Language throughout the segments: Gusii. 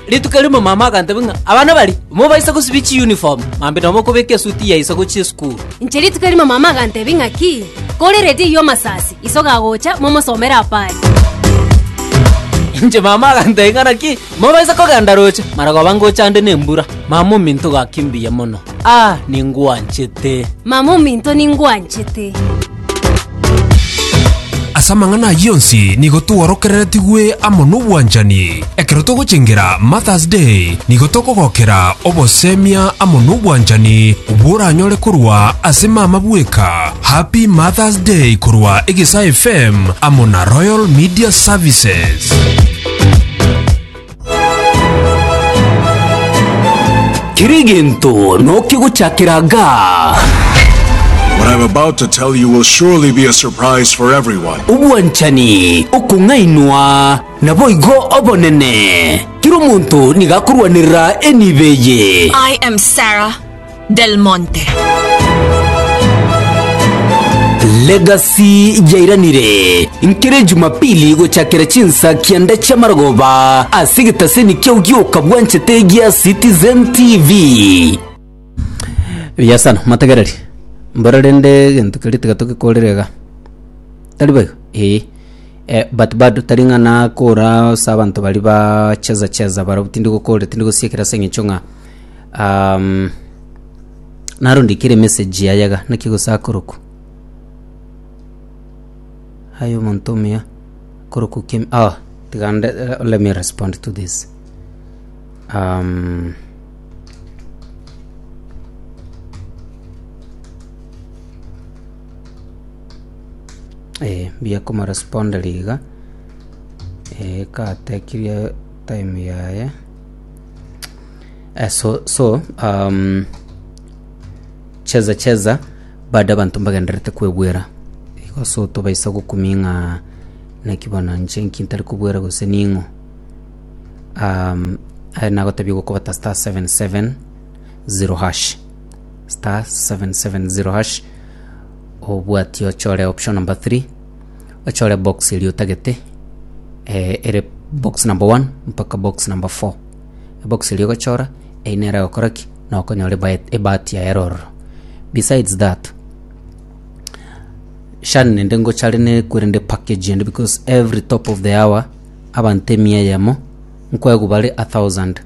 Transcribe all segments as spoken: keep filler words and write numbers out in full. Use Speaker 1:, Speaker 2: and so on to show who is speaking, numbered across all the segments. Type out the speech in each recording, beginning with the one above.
Speaker 1: Rituko erimo mama agantebia ng'a abana baria mobaisa gosibia chiuniform, mambia nabo mokobeka esuti ya iso gochia esukuru.
Speaker 2: Inche rituko erimo mama agantebia ng'aki, kore eredio eyio amasasi, iso gagocha momosomere apari.
Speaker 1: Inche mama agantebia ng'a naki, mobaisa kogenda roche, maragoba ngocha ande na embura. Mama ominto gaki mbuya mono, ah ningwanchete.
Speaker 2: Mama ominto ningwanchete.
Speaker 3: Ase amang'ana ayio onsi nigo tworokereretigwe amo nobwanchani. Ekero togochengera Mother's Day, nigo tokogokera obosemia amo nobwanchani obwo oranyore korwa ase mama bweka. Happy Mother's Day korwa Egesa F M amo na Royal Media Services.
Speaker 1: Kera egento nokegochakera gaa.
Speaker 4: What I'm about to tell you will surely be a surprise for everyone.
Speaker 1: Obwanchani, okong'ainwa, naboigo obonene. Kera omonto nigo akorwanerera enibo eye.
Speaker 5: I am Sarah Del Monte.
Speaker 1: Legacy yairanire nkere Jumapili gochakera chinsa kianda chi'amarogoba ase egetaseni kiao gioka bwanchete gia Citizen T V. Buya sana motegereri mbora rende egento keria tiga togekorere iga tari boigo eh eh, but bado tari ng'a nakora ase abanto baria ba cheza cheza barabwo tindi gokorera tindi gosiekera ase eng'encho ng'a um, narondikire emessage yaye iga naki gose akorokwa aye omonto omuya korokwa Kim, oh, tiga nde, let me respond to this um, Eh, mbuya komorespondera iga eh, katekirie time yaye eh, so, so um, cheza cheza bado abanto mbagenderete kwegwera igo so tobaisa gokumia ng'a naki bono inche nki ntari kobwera gose ning'o um, aye nagotebia gokobata star seven seven zero hash, star seven seven zero hash, obwati ochore option number three, ochore box eria otagete eh, ere box number one mpaka box number four. Ebox eria ogochora eyio nere egokora ki na okonyora ebae- ebahati yaye ere ororo. Besides that, Shan nende ngochare nekwerende package ende because every top of the hour abanto emia eyemo nkoegwa bare a thousand.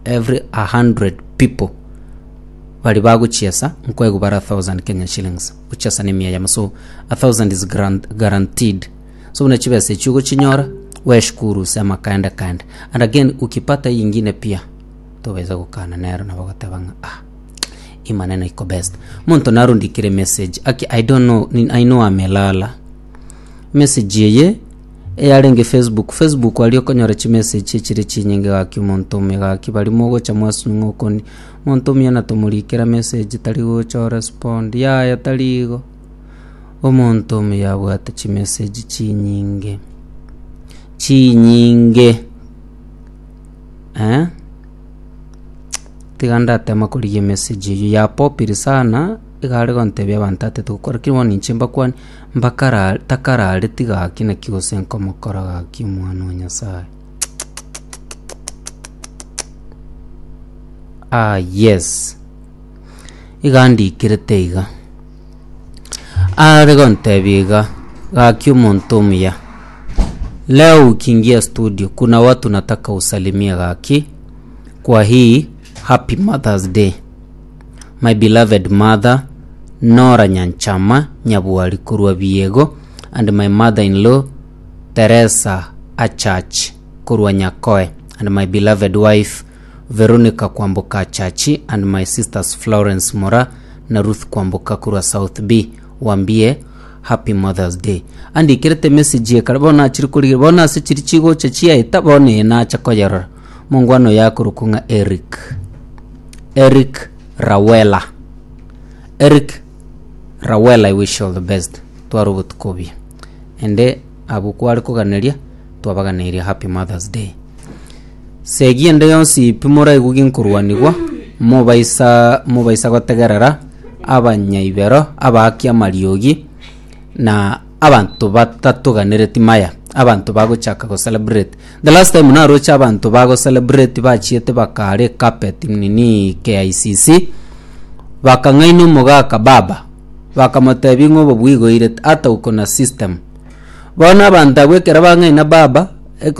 Speaker 1: Every a hundred people bari bagochiesa nkoegwa bare a thousand Kenya shillings gochiesa na emia eyemo, so a thousand is grant, guaranteed. So buna chibesa echi ogochinyora weshukuru sema kaende kaende, and again ukipata hii ingine pia tobeza gokana nero nabo goteba ng'a ah hii maneno iko best. Monto narundikire message aki, I don't know ni- I know amelala. Message eye eyarenge Facebook, Facebook aria okonyora chimessage echire chinyinge gaki omonto ome gaki bari mogocha mwasunywa okoni monto omuya na tomorikera message tari gocha orespond yaya tari igo. Omonto omuya abwate chimessage chinyinge chinyinge eh? Tiga ndatema korigia emessage eywo yapopire sana iga are gontebia abanto atete gokora lakini bono inche mbakwane mbakara takarareti gaki naki gose nkomokora gaki omwana o Nyasaye. Ah yes, iga ndikirete iga are gontebia iga gaki omonto omuya leo ukiingia studio kuna watu nataka usalimie gaki kwa hii happy Mother's Day. My beloved mother Nora Nyanchama Nyabwari korwa Biego and my mother-in-law Teresa Achach korwa Nyakoe and my beloved wife Veronica Kwamboka Achachi and my sisters Florence Mora na Ruth Kwamboka korwa South B, wambie happy Mother's Day. Andikirete message ekare bono achiri korigia bono ase chiri chigocha chiaeta bono eye nacha koyerora mongwano yakorokwa ng'a Eric Eric Rawela. Eric Rawela, I wish you all the best. Twara obotuko obuya ende abwo kware koganeria twabaganeirie happy Mother's Day. Segi ende yonsi pi moraigwe ginkorwanigwa mobaisa mobaisa gotegerera abanyaibero abaaki amariogi na abanto batatoganereti maya. Abanto bagochaka go celebrate. The last time naroche abanto bago celebrate bachiete bakare carpet nini K I C C, bakang'aina omogaka baba, bakamotebi ng'a obo bwigoire ata uko na system. Bono abanto abwo ekero bang'aina baba,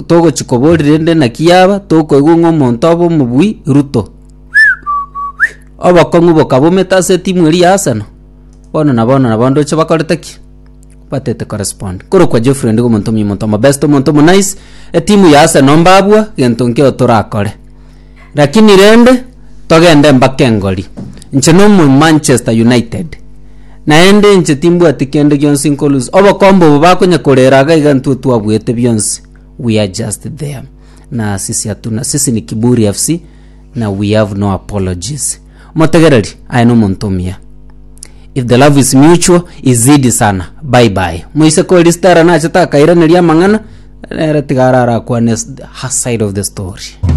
Speaker 1: togochi kobori rende naki yaba tokoigwa ng'a omonto obe omobui Ruto. Obokong'u bokabomete ase etimu eria ya Arsenal. Bono na bono nabo ndoche bakorete ki? Batete correspond. Korokwa Jeffrey ndigo omonto omuya, omonto omobest, omonto omonice. Etimu ya Arsenal mbabua gento nkeo torakore. Lakini rende togende mpaka engori. Inche no omo Manchester United. Naende inche timbwati kende gionsi nkolose. Obokombe obo bakonya korera iga iga ntwe twabwete bionsi. We are just there. Na sisi hatuna, sisi ni Kiburi F C na we have no apologies. Motegereri, aye no omonto omuya. If the love is mutual, izidi sana. Bye bye. Moise kori Stella nachete akairaneria amang'ana, nere tiga arara akwane her side of the story.